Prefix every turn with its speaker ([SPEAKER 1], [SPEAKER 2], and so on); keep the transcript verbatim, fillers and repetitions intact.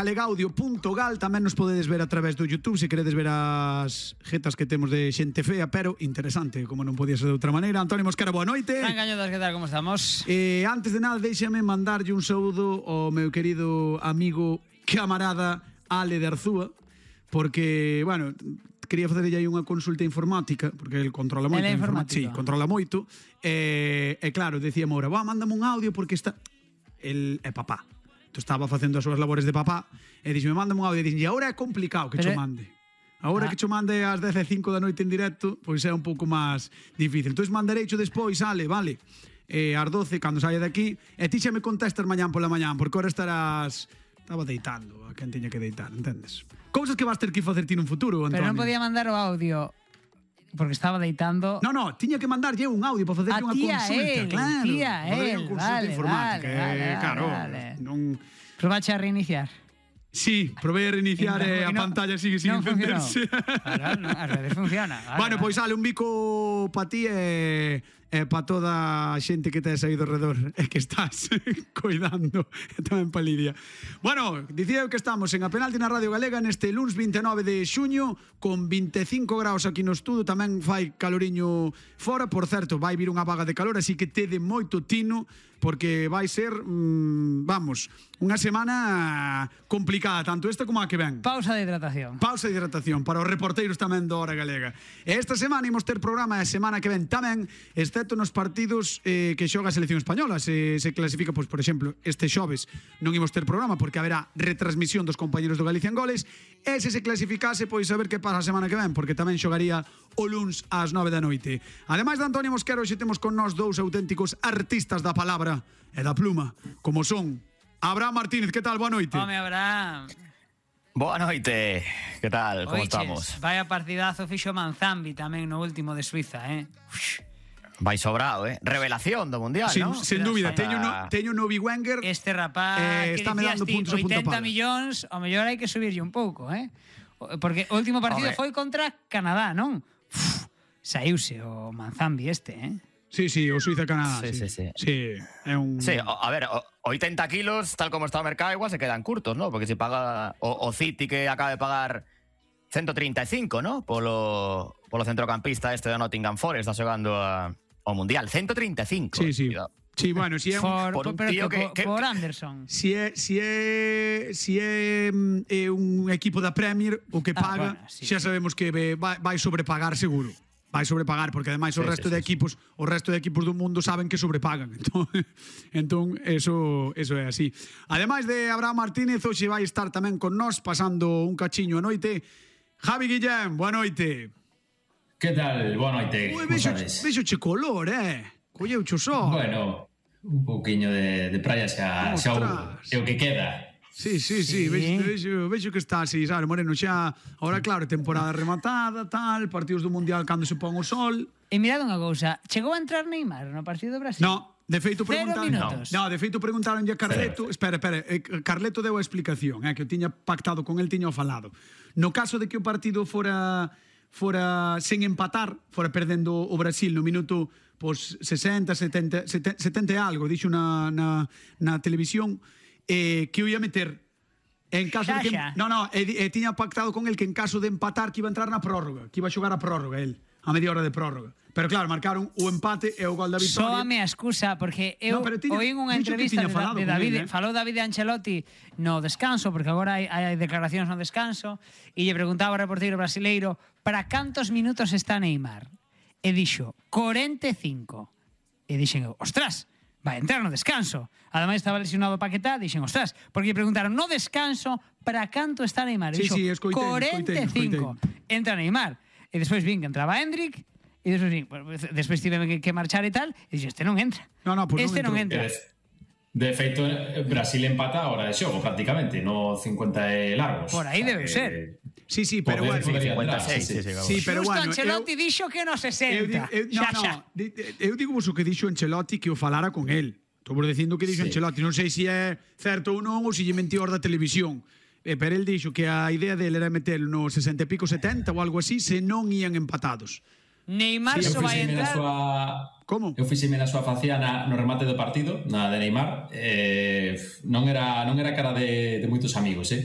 [SPEAKER 1] galegaudio punto gal. Tamén nos podedes ver a través do YouTube se queredes ver as jetas que temos de xente fea, pero interesante, como non podía ser de outra maneira. Antonio Mosquera, boa noite.
[SPEAKER 2] Fran Cañodas, que tal, como estamos?
[SPEAKER 1] Eh, antes de nada, déxame mandarlle un saúdo ao meu querido amigo, camarada Ale de Arzúa, porque, bueno, quería facerlle aí unha consulta informática, porque el controla moito.
[SPEAKER 2] Ele é informático.
[SPEAKER 1] Sí, controla moito. E, eh, eh, claro, decíamos ahora, va, mándame un audio porque está... El é papá. Entón estaba facendo as súas labores de papá e dixeme, mándame un audio e dixeme, agora é complicado que
[SPEAKER 2] Pero...
[SPEAKER 1] cho mande. Agora
[SPEAKER 2] ah.
[SPEAKER 1] que cho mande ás dez e cinco da noite en directo, pois é un pouco máis difícil. Entón mandarei cho despois, Ale, vale, eh, ás doce, cando saia de aquí, e ti xa me contestas mañán pola mañán, porque ahora estarás... Estaba deitando a quen tiña que deitar, entendes? Cousas que vas ter que facer ti nun futuro, Antonio.
[SPEAKER 2] Pero non podía mandar o audio porque estaba deitando.
[SPEAKER 1] No, no, tiña que mandarlle un audio para facerlle unha consulta,
[SPEAKER 2] él,
[SPEAKER 1] claro.
[SPEAKER 2] tía,
[SPEAKER 1] Facerlle
[SPEAKER 2] él,
[SPEAKER 1] unha consulta
[SPEAKER 2] vale,
[SPEAKER 1] informática,
[SPEAKER 2] vale, vale,
[SPEAKER 1] eh, claro.
[SPEAKER 2] vale.
[SPEAKER 1] Non...
[SPEAKER 2] Probache a reiniciar.
[SPEAKER 1] Sí, probei a reiniciar e a
[SPEAKER 2] no,
[SPEAKER 1] pantalla sigue sin
[SPEAKER 2] non
[SPEAKER 1] encenderse.
[SPEAKER 2] Claro, no, ás veces funciona. Vale,
[SPEAKER 1] Bueno,
[SPEAKER 2] vale.
[SPEAKER 1] pois sale un bico pa ti e, e pa toda a xente que tes aí do redor e que estás coidando, e tamén pa Lidia. Bueno, dicía eu que estamos en A Penalti na Radio Galega neste luns vinte e nove de xuño con vinte e cinco graus aquí no estudo, tamén fai caloriño fora, por certo, vai vir unha vaga de calor, así que tede moito tino porque vai ser, mmm, vamos, unha semana complicada, tanto esta como a que ven.
[SPEAKER 2] Pausa de hidratación.
[SPEAKER 1] Pausa de hidratación para os reporteiros tamén do Hora Galega. E esta semana imos ter programa e a semana que ven tamén, excepto nos partidos eh, que xoga a selección española. Se, se clasifica, pois, por exemplo, este xoves non imos ter programa porque haberá retransmisión dos compañeros do Galicia en Goles. E se se clasificase, pois a ver que pasa a semana que ven, porque tamén xogaría o luns ás nove da noite. Ademais de Antonio Mosquera, hoxe temos con nós dous auténticos artistas da palabra e da pluma, como son Abraham Martínez. Que tal? Boa noite.
[SPEAKER 2] Home, Abraham.
[SPEAKER 3] Boa noite. Que tal? Como
[SPEAKER 2] Oiches,
[SPEAKER 3] estamos?
[SPEAKER 2] vaya partidazo fixo Manzambi tamén no último de Suiza, eh? Ux.
[SPEAKER 3] Vai sobrado, eh? Revelación do Mundial,
[SPEAKER 1] Sin,
[SPEAKER 3] ¿no?
[SPEAKER 1] sen dúbida,
[SPEAKER 3] Está...
[SPEAKER 1] teño no, teño no Wenger.
[SPEAKER 2] Este rapaz
[SPEAKER 1] eh,
[SPEAKER 2] que
[SPEAKER 1] estáme
[SPEAKER 2] dicías
[SPEAKER 1] dando
[SPEAKER 2] ti,
[SPEAKER 1] puntos a punta
[SPEAKER 2] oitenta
[SPEAKER 1] pala.
[SPEAKER 2] millóns, ao mellor hai que subirlle un pouco, eh? Porque o último partido
[SPEAKER 3] Home.
[SPEAKER 2] foi contra Canadá, non? Uf, saíuse o Manzambi este, eh?
[SPEAKER 1] Sí, sí, o Suiza-Canadá.
[SPEAKER 3] Sí,
[SPEAKER 1] Sí,
[SPEAKER 3] sí, sí.
[SPEAKER 1] Sí, é un...
[SPEAKER 3] Sí, o- a ver, o- oitenta kilos, tal como está o mercado, igual se quedan curtos, ¿no? Porque se paga o, o City que acaba de pagar ciento treinta e cinco, ¿no? Polo, polo centrocampista este de Nottingham Forest, está xogando a, ao Mundial. ciento treinta e cinco.
[SPEAKER 1] Sí, sí.
[SPEAKER 3] Cuidado.
[SPEAKER 1] Sí, bueno, si é un...
[SPEAKER 2] Por,
[SPEAKER 3] por un
[SPEAKER 2] pero
[SPEAKER 3] tío
[SPEAKER 2] que,
[SPEAKER 3] que-
[SPEAKER 2] por,
[SPEAKER 3] que-
[SPEAKER 2] por Anderson.
[SPEAKER 1] Si é, si é, si é, mm, é un equipo da Premier o que
[SPEAKER 2] Ah,
[SPEAKER 1] paga,
[SPEAKER 2] bueno, sí,
[SPEAKER 1] xa
[SPEAKER 2] sí.
[SPEAKER 1] sabemos que ve- vai, vai sobrepagar seguro. Vai sobrepagar porque ademais o
[SPEAKER 3] Sí,
[SPEAKER 1] resto
[SPEAKER 3] sí,
[SPEAKER 1] de
[SPEAKER 3] sí,
[SPEAKER 1] equipos, o resto de equipos do mundo saben que sobrepagan. Entón, entón eso eso é así. Ademais de Abraham Martínez, hoxe vai estar tamén con nós pasando un cachiño a noite. Javi Guillén, boa noite.
[SPEAKER 4] Que tal? Boa noite.
[SPEAKER 1] Ui,
[SPEAKER 4] Como
[SPEAKER 1] vexo,
[SPEAKER 4] sabes?
[SPEAKER 1] vexo che color, eh. Colleu cho só.
[SPEAKER 4] Bueno, un pouquiño de, de praia xa, xa o,
[SPEAKER 1] Ostras.
[SPEAKER 4] é o que queda.
[SPEAKER 1] Sí, sí, sí,
[SPEAKER 2] Sí.
[SPEAKER 1] vexo, vexo, vexo que está así, sabe, Moreno, xa, ahora claro, temporada rematada, tal, partidos do Mundial cando se pon o sol.
[SPEAKER 2] E mirad unha cousa, chegou a entrar Neymar no partido do Brasil?
[SPEAKER 1] No, de feito
[SPEAKER 2] Cero
[SPEAKER 1] preguntaron,
[SPEAKER 2] minutos.
[SPEAKER 1] no, de feito preguntaron a Carleto, espera, espera, eh, Carleto deu a explicación, eh, que o tiña pactado con el, tiña o falado. No caso de que o partido fora fora sen empatar, fora perdendo o Brasil no minuto pois sesenta, setenta, setenta e algo, dixo na, na, na televisión, eh, que o ia meter en caso de que,
[SPEAKER 2] Xa, xa.
[SPEAKER 1] no, no, e, e tiña pactado con el que en caso de empatar que iba a entrar na prórroga, que iba a xogar a prórroga el, a media hora de prórroga. Pero claro, marcaron o empate e o gol da vitória.
[SPEAKER 2] Soame a excusa, porque eu
[SPEAKER 1] No, pero tiña-
[SPEAKER 2] oín unha
[SPEAKER 1] dixo que
[SPEAKER 2] entrevista
[SPEAKER 1] tiña
[SPEAKER 2] de,
[SPEAKER 1] falado
[SPEAKER 2] de
[SPEAKER 1] con
[SPEAKER 2] David,
[SPEAKER 1] él, eh.
[SPEAKER 2] falou David Ancelotti no descanso, porque agora hai, hai declaracións no descanso, e lle preguntaba ao reporteiro brasileiro para cantos minutos está Neymar. E dixo, cuarenta e cinco. E dixen eu, ostras, vai entrar no descanso. Ademais estaba lesionado Paquetá, dixen, ostras, porque lle preguntaron no descanso para canto está Neymar. E
[SPEAKER 1] Sí,
[SPEAKER 2] dixo,
[SPEAKER 1] sí, escoitei,
[SPEAKER 2] cuarenta e cinco.
[SPEAKER 1] escoitei.
[SPEAKER 2] Entra Neymar. E despois vin que entraba Hendrik, e despois vin, pues, despois tive que, que marchar e tal, e dixo, este non entra.
[SPEAKER 1] No, no, pues
[SPEAKER 2] este
[SPEAKER 1] non
[SPEAKER 2] non
[SPEAKER 1] entrou.
[SPEAKER 2] entra.
[SPEAKER 4] De, de feito, Brasil empata a hora de xogo, prácticamente, no cincuenta e largos.
[SPEAKER 2] Por aí
[SPEAKER 4] O sea
[SPEAKER 2] debe
[SPEAKER 4] que
[SPEAKER 2] ser.
[SPEAKER 1] Sí, sí, pero
[SPEAKER 4] poder-
[SPEAKER 1] bueno,
[SPEAKER 4] podería
[SPEAKER 3] cincuenta e
[SPEAKER 4] entrar,
[SPEAKER 3] seis,
[SPEAKER 4] sí,
[SPEAKER 3] sí,
[SPEAKER 4] sí.
[SPEAKER 3] sí,
[SPEAKER 1] sí, pero
[SPEAKER 2] Justo
[SPEAKER 1] bueno,
[SPEAKER 2] Ancelotti
[SPEAKER 1] eu,
[SPEAKER 2] dixo que no
[SPEAKER 1] eu,
[SPEAKER 2] sesenta.
[SPEAKER 1] eu, no,
[SPEAKER 2] xa,
[SPEAKER 1] no,
[SPEAKER 2] xa.
[SPEAKER 1] di- eu digo vos o que dixo Ancelotti que o falara con el. Estou vos dicindo que dixo
[SPEAKER 4] Sí.
[SPEAKER 1] Ancelotti, non sei se é certo ou non ou se lle mentiu da televisión. Eh, pero el dixo que a idea dele era meter no sesenta e pico setenta ou algo así se non ían empatados.
[SPEAKER 2] Neymar
[SPEAKER 4] Sí,
[SPEAKER 2] só
[SPEAKER 4] eu
[SPEAKER 2] vai
[SPEAKER 4] fixeme na
[SPEAKER 2] entrar.
[SPEAKER 4] súa
[SPEAKER 1] Como?
[SPEAKER 4] Eu fixeme na súa faciana no remate do partido, na de Neymar, eh, non era non era cara de, de moitos amigos, eh.